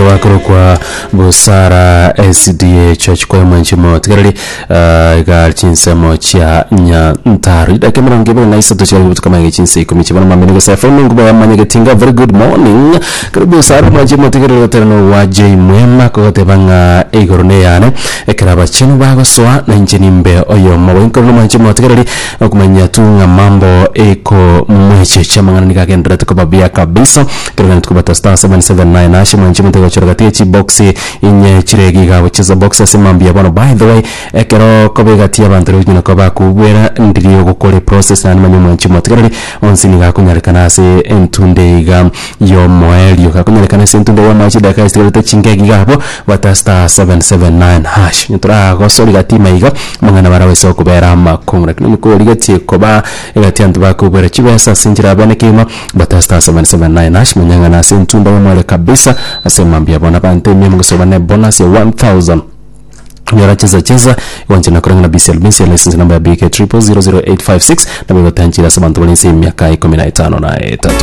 Nigo bakorokwa Busara SDA Church Choir mwanche motigereri ah, iga chinsemo chia Nyantaro. Chidakika emerongo ebere na isato chiarenge botuko amaiga chinsa ikomi chibana mambia nigo Esaia FM enkuba ya Mwanyagetinga. Very good morning. Karibu Busara mwanche motigereri gotera nogwa J Mwema kogoteba ng'a igoro neyane ekero abachenu bagosoa na inche nimbe oyomo. Boinkoro mwanche motigereri Okomanya tu ng'a mambo ekomwechecha amang'ana nigo agendererete koba buya kabisa. Ekero gani tukobata star 779 hash mwanche omonto agochora gati ye chibox inye chire iga iga agocheza box ase mambia bono. By the way, ekero koba egati y'abanto riria onyara koba bakobwera ndiri ogokora eprocess naende manya omwanchi omotigareri onsi nigo akonyarekana ase entunde iga y'omoerio. Gakonyarekana ase entunde y'omoerio chidakika chitigarete chingegi iga abwo bwata star 779 hash. Onye toragosori gati ime iga. Amang'ana barabase okobera amakong'u, lakini onye korigetie koba egati y'abanto bakobwera chibesa ase enchera ya bene kegima, bata star 779 hash, manya ng'a nase entunda y'omwere kabisa ase mambia bono abanto emia mogosoba ne bonus ya 1000. Nyora chesa chesa gwancha na koreng'ana BCL BCL license number ya BK 0000856 nabo egotanchire ase abanto bare inse y'emiaka ikomi na etano na etato.